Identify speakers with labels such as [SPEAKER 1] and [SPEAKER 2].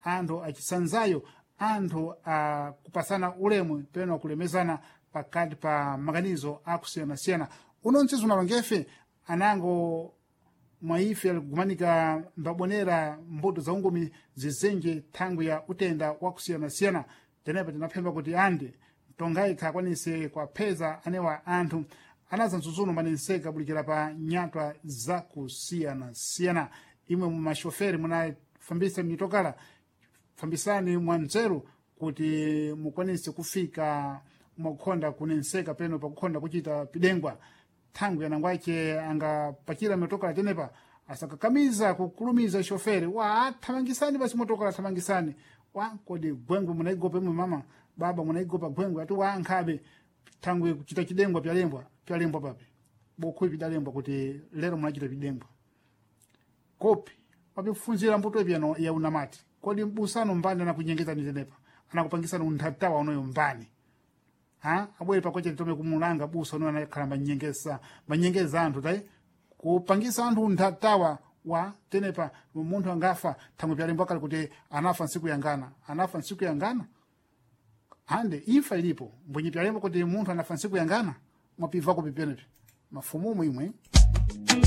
[SPEAKER 1] Anthu achisanzayo, anthu akupasana ulemu peno kulemezana pakati pa maganizo akusiyanasiyana. Uno mtsizo unalongefe anango mwaife alikugumanika mbabonera mbuto za ungumi zizenje thangwi ya utenda wakusiyanasiyana. Tenepa tinaphemba kuti andi tongaikha akwanise kuwapheza anewa anthu anaza mtsutsuno manenseka bulikira pa nyatwa zakusiyanasiyana. Imwe mumashoferi munafambisa mitokala, fambisani mwanzeru kuti mukwanise kufika mwakukhonda kunenseka peno pakukhonda kuchita pidengwa. Thangwi anangwache angapachira mitokala tenepa asakakamiza kukulumiza shoferi wa thamangisani basi motokala, thamangisani wa kodi gwengwe munaigopa imwe mama baba munaigopa gwengwe ati wa nkhabe thangwi kuchita chidengwa pyalembwa pyalembwa papi bokhuyi pidalembwa kuti lero munachita pidengwa kopi papifunzira mbuto ipyano ya unamati. Kodi mbusano mbani anakunyengezani tenepa anakupangisani unthatawa unoyo mbani ha abwere pakoche titome kumulanga busa unoyo anakhala manyengesa manyengeza anthu tayi kupangisa anthu unthatawa wa tenepa. Munthu angafa thangwi pyalembwa kale kuti anafa ntsiku yangana, anafa ntsiku yangana ande imfa ilipo mbwenye pyalembwa kuti munthu anafa ntsiku yangana mwapivako pipenepi mafumumu imwe.